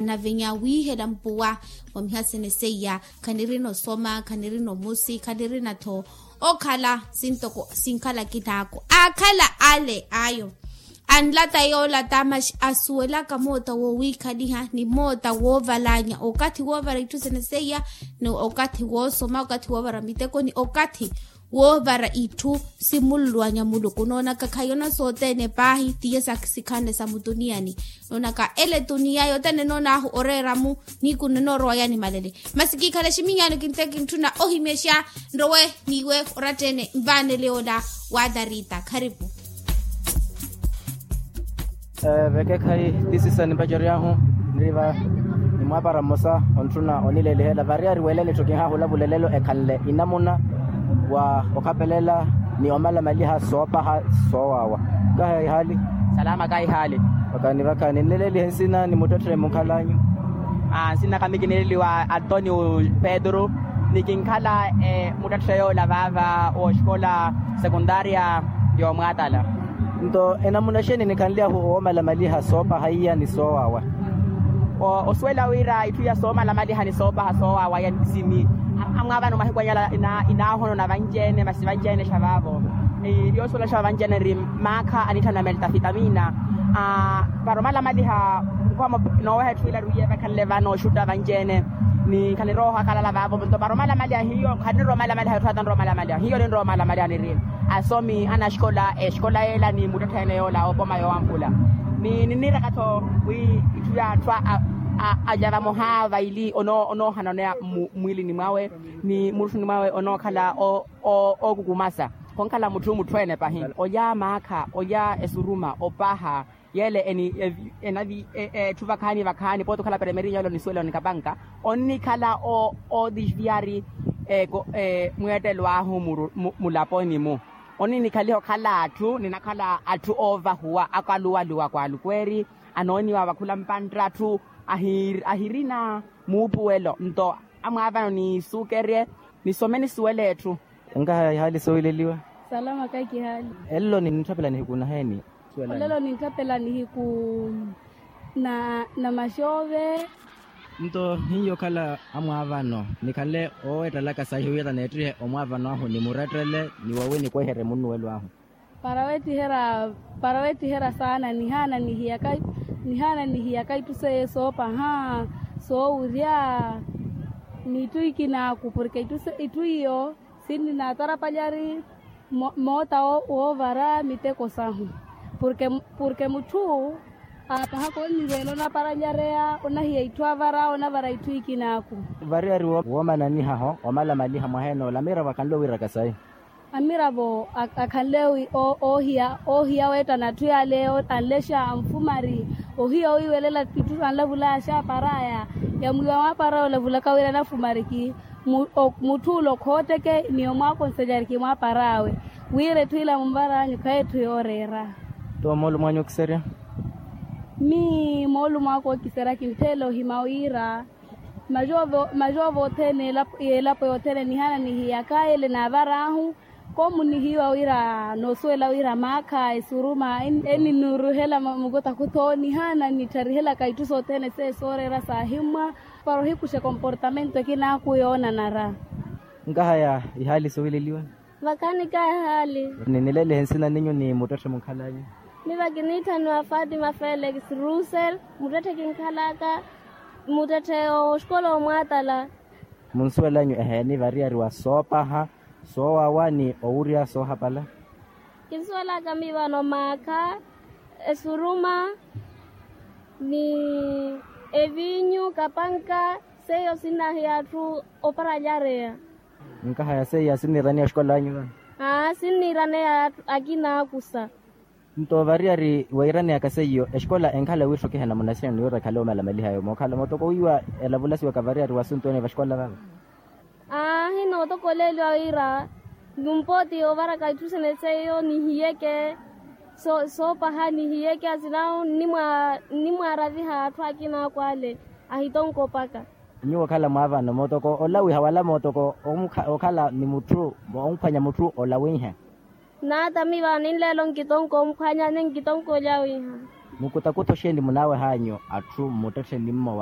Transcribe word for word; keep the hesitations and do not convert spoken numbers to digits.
Nave nyawiihela mpuwa wa mihasene seiya, khanirina osoma, khanirina omusi, khanirina-tho okhala sintoko sinkhala akinaako, aakhala ale ayo. Anlata yoolata maxi asuwelaka moota wowiikhaliha ni moota woovalanya okathi woovara itthu sene seiya, ni okathi woosoma okathi woovara miteko ni okathi woovara itthu simululuwanya muluku noonaka khayona sothene paahi tiye sikhanle sa mutuniyani. Noonaka ele tuniya yothene noonaahu oreera-mu. Nihiku nnoorowa yaani malele masi kiikhala eximinyano kinteke kintthuna ohimyexa. Nrowe n'iwe oratta-ene nvaanele yoola. Waatarita kharipu. Vekekhayi tisisa nimpaceryahu nriva. Ni mwaapara mmosa ontthuna onilelihela variyari weela nitthu kinhaahula vulelelo ekhanle inamuna wa okhapelela ni omalamaliha soopaha soowaawa. Kaha ihaali. Salama kaha ihaali. Vakani vakani nnilelihe nsina ni muttetthe munkhal'anyu. Nsinaka mikinileliwa antonio pedro. Ni kinkhala muttetthe yoola vaava wooxikola sekuntaria. Yoomwaatala. Nto enamuna xeeni nikhanly'ahu woomalamaliha soopaha iya ni soowaawa? Osuwela wira itthu ya soomalamaliha ni soopaha soowaawa iya ni sini. Amwaavano mahiku anyala inaahono na vanci-ene masi vanci-ene xa vaavo. Yoosuwela xa vanci-ene nri maakha anitthana melta fitamina. Para omalamaliha nkomo nooweha etthu ila rwiye vakhanle vano oxutta vanci-ene. Ni khanirooha khalala vaavo nto para omalamaliha hiyo khaniroomalamaliha etthu ata nroomalamaliha hiyo ninroomalamaliha niri. Asomi anaxikola exikola yeela ni muttetthe ene yoola opoma yoowampula. Ni ninniiraka-tho wi itthu ya atthu alya vamoha vaili onoohana oneya mmwiilini mwawe ni murutthuni mwawe onookhala ookukumasa. Khonkhala mutthu mutthu ene pahi olya maakha olya esuruma opaha. Yeele eni enavi etthu vakhaani vakhaani pooti okhala peremerinyo ole onisuwela onikapanka onnikhala oodisviyari. Mweettelo ahu mulaponi-mu oninikhaliha okhala atthu ninakhala atthu oovahuwa akaluwaluwa kwaalukweeri. Anooniwa vakhula mpantt'atthu ahirina muupuwelo nto amwaavano nisuukerye nisome nisuwele etthu. Nkaha ihaali soowileliwa. Salama kahi kihaali. Elelo nintthapela nihiku naheeni? Olelo nintthapela nihiku na maxoove. Nto hiyo okhala amwaavano nikhanle oowettalaka saihi wira neettihe omwaavano ahu ni murettele ni wowi nikweherye munnuwelo ahu. Para weettiherya saana nihaana nihiyaka itthu seiyo soopaha soowurya n'itthu ikinaaku porke itthu iyo sinninaatarapalyari moota woovara miteko sahu. Porke mutthu aapahaka onniveela onaparalyareya onahiya itthu avara onavara itthu ikinaaku. Variyari woomananihaho omalamaliha mwaheene ole amiravo akhanle owiiraka sayi. Amiravo akhanle oohiya weettana atthu yaale anlexa anfumari ohiya owiiwelela itthu sanlavulaya xaaparaya. Yamwiiwa mwaapara olavulaka wira anafumariki. Mutthu ula okhooteke ni omwaakonselyariki mwaapara awe wira etthu ila munvar'anyu khayi etthu yooreera. Nto moolumo anyu okiserya? Mii moolumo aka okiserya kinttheela ohima wira maxoove othene y'elapo yothene nihaana nihiyaka ele naavar'ahu. Koomunihiwa wira noosuwela wira maakha esuruma eninuuruhela mukutakutho nihaana nittarihelaka itthu sothene seiyo sooreera saahimmwa. Para ohikuxa ekomportamento ekinaaku yoonanara. Nkahaya ihaali soowileliwa. Vakhaani kaha ihaali. Ninilelihe nsina ninyu ni muttetthe munkhal'anyu? Miva kiniitthaniwa fatima felix russel. Muttetthe kinkhal'aka muttetthe oxikola omwaatala. Munsuwel'anyu eheeni variyari wa soopaha soowawa ni owurya soohapala? Kinsuwel'aka miivano maakha esuruma ni eviinyu kapanka seiyo sinnahiya atthu oparalyareya. Nkahaya seiya sinniiraneya oxikol'anyu vano? Aa sinniiraneya akina akusa. Nto variyari weiraneyaka seiyo exikola enkhala wiitthokiha namuna sina ni wira ekhale omalamalihayo mookhala mootoko wiiwa elavulasiwaka variyari wa asuntu ene vaxikola vava. Aahi nootokoleeliwa wira numpooti ovaraka itthu sene seiyo nihiyeke soopaha nihiyeke asinahu nnimwaaraviha atthu akina akwale. Ahitonkopaka. Nyuwo okhala mwaavano mootoko olawiha wala mootoko okhala ni mutthu onkhwanya mutthu olawiha. Naatami vano ninleelo nkitonko omphwanya ni nkitonko olyawiha. Mukutakutho xeeni munaawehanyu atthu mmuttetthe ni mmowa?